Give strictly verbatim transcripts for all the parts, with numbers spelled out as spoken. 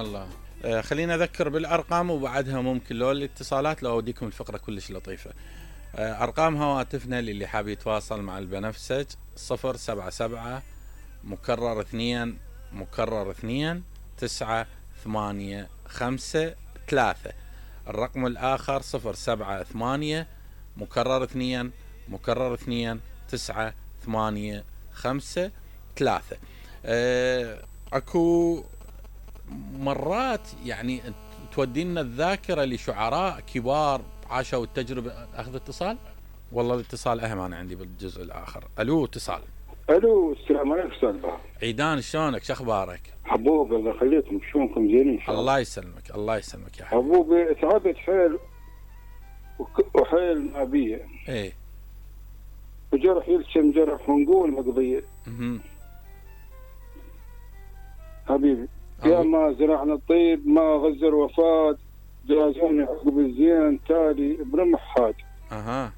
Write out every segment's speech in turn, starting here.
الله. آه خلينا اذكر بالارقام وبعدها ممكن لو الاتصالات لو اوديكم الفقره كلش لطيفه. آه ارقام هواتفنا للي حاب يتواصل مع البنفسج صفر سبعة سبعة مكرر اثنين مكرر اثنين تسعة ثمانية خمسة ثلاثة. الرقم الاخر صفر سبعة ثمانية مكرر اثنين مكرر اثنين تسعة ثمانية خمسة ثلاثة. آه اكو مرات يعني تودينا الذاكرة لشعراء كبار عاشوا التجربة. اخذ اتصال. والله الاتصال اهم انا عندي بالجزء الاخر. الو اتصال. الو السلام عليكم استاذ عيدان شلونك شو اخبارك؟ حبوب الله يخليكم شلونكم زينين ان شاء الله. الله يسلمك الله يسلمك يا حبيبي. حبوبي تعبت حيل وحيل ما بيه. ايه وجرح يلشم جرح ونقول مقضيه. اها حبيبي يا ما زرعنا الطيب ما غزر وفات جازوني عقب الزين تالي برمحات. اها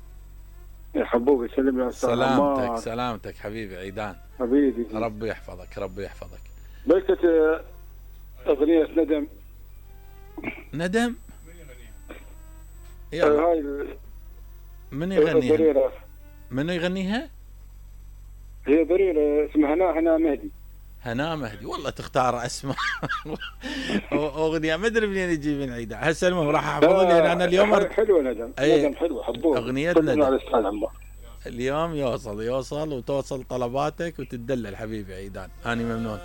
يا حبوبي سلم يا استاذ سلامتك سلامتك حبيبي عيدان حبيبي. ربي يحفظك ربي يحفظك. بلكت اغنيه ندم. ندم يلا هاي من يغنيها؟ من يغنيها؟ هي ضريرة اسمها هنا هنا مهدي. هنا مهدي. والله تختار اسماء اغنيه ما ادري منين يجي من عيدة. هسه المهم راح احفظ لي انا اليوم. حلوه ندم. أي ندم حلوه حبوب. اغنيه ندم اليوم يوصل يوصل وتوصل طلباتك وتدلل حبيبي عيدان. اني ممنون.